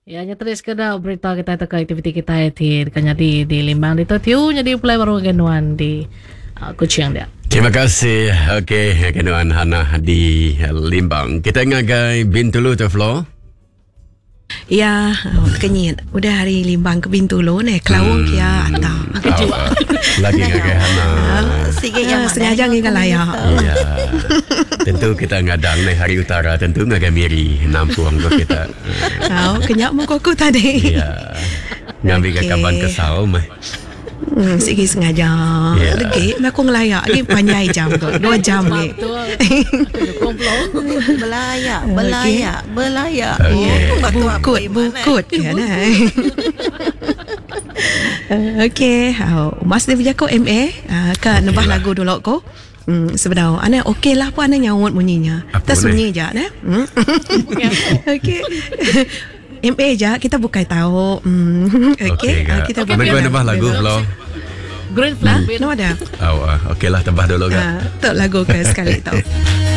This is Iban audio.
Ya nya tadi sekeda berita kitai tauka aktiviti kitai ti deka nyadi di Limbang ditu tiu nyadi pulai baru ngagai nuan di uh, Kuching dia. Terima kasih. Okey, ngagai nuan Hannah di Limbang. Kita ngagai Bintulu tu Flo. Ya, oh, kenyit. Udah hari Limbang ke Bintulu neh, Kelawang hmm. kia atau. Oh, lagi ngagai Hana. Sige yang sengaja ngiga layak. Ya. Tentu kita ngadang neh hari utara tentu ngagai Miri nampung ko kita. Oh, kenyak muka aku tadi. Ya. Ngambi okay. kaban kesal meh. Hmm, sigi sengaja. Yeah. Legi, aku ngelayak lagi panjai jam tu. Dua jam lagi. Belayak, belayak, belayak. Okay. Oh, bukut, bukut. Ya, nah. Okey, oh, Mas dia berjakuk MA, uh, ke okay nebah lah. lagu dulu ko. Hmm, sebedau ana okey lah pun ana nyaut munyinya. Tersunyi je ne. Hmm. Okey. MA je kita bukai tahu. Hmm. Okey, okay. kita okay, bukai. Nebah lagu lo. Green flag. Hmm. No ada. Oh, okey lah tebah dulu kan. Uh, tok lagu ke sekali tu.